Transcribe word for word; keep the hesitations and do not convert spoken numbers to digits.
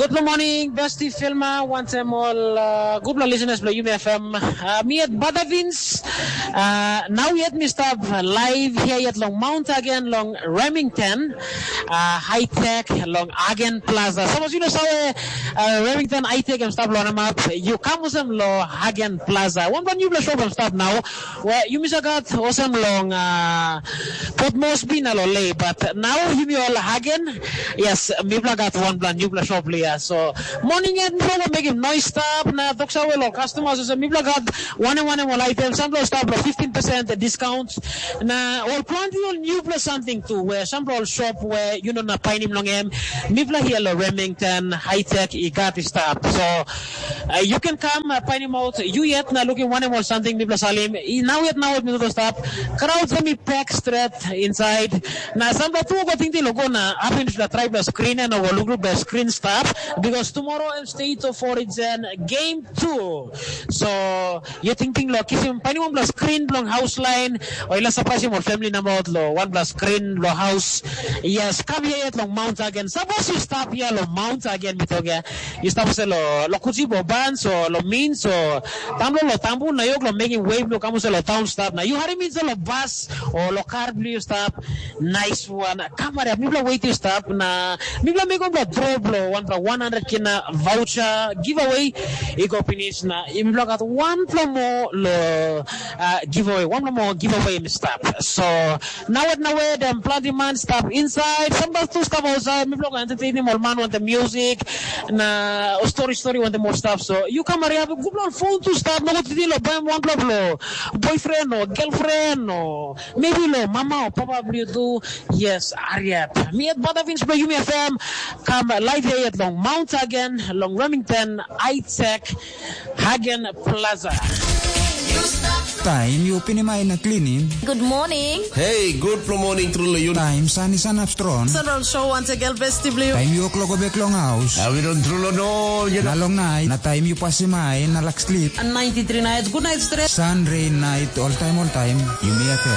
Good morning, Besti Filma, wantem ol uh, gutpela listeners bilong Yumi F M. Uh, mi yet Badavins, uh, nau yet mi stap live here yet long Mount again long Remington, uh, High Tech long Hagen Plaza. Sapos you know sawe uh, Remington High Tech em stap long namap, you come usem lo Hagen Plaza. One brand new shop em stap now. Well, you miss a got awesome long uh, Port Moresby na lo lei, but now you me all Hagen. Yes, mipla got one brand new shop here. So morning and mipla make him noise stop na toksa well customers. So mipla got one and one and one item. Some stop lo fifteen percent discount. Na ol planti ol new plus something too. Where some ol shop where you know na painim long em. Mipla here lo Remington High Tech i got i stap. So uh, you can come uh, painim out. You yet na looking one and one something mipla salim. I now yet now mi to stop. Crowd mi pack straight inside. Na some tu go think lo go na happen to try plus screen and go look plus screen stop because tomorrow em state of origin game two. So you thinking lo kisim painim one plus screen long house line. O ila surprise mo family number out lo one plus screen lo house. Yes, come here yet long Mount again. Suppose you stop here lo Mount again, mi toge. You stop se lo lo kuchi bo ban so lo min so tamlo lo tambu na yok lo making wave lo kamu se lo town stop na. You hari min se lo bus o lo car blue stop. Nice one. Come here, mipla wait you stop na. Mipla make one lo drop lo one lo one hundred kina voucher giveaway. Iko finish na. Mipla got one lo more lo uh, giveaway. One lo more giveaway mi stop. So now what now where them bloody man stop inside. Somebody to stop outside. Mipla go entertain him all man want the music. Na story story want the more stuff. So you come here have a good old phone to stop. No go to deal buy one lo lo boyfriend or girlfriend or maybe lo mama or papa blue do. Yes, Ariat. Me at Badavins by Yumi F M. Come live here at Long Mount again, Long Remington, Isaac, Hagen Plaza. Taim yu pinim ai na klinim. Good morning. Hey, good from morning through Layun. Taim san i sanap strong. Central Show once again, Best W. Taim yu kloko bek long haus. Awi don trulo no, you Na know. Long nait, na taim yu pasim ai na lak slip. And ninety-three nights, good night stress. Sun, rain, night, all time, all time. Yumi F M.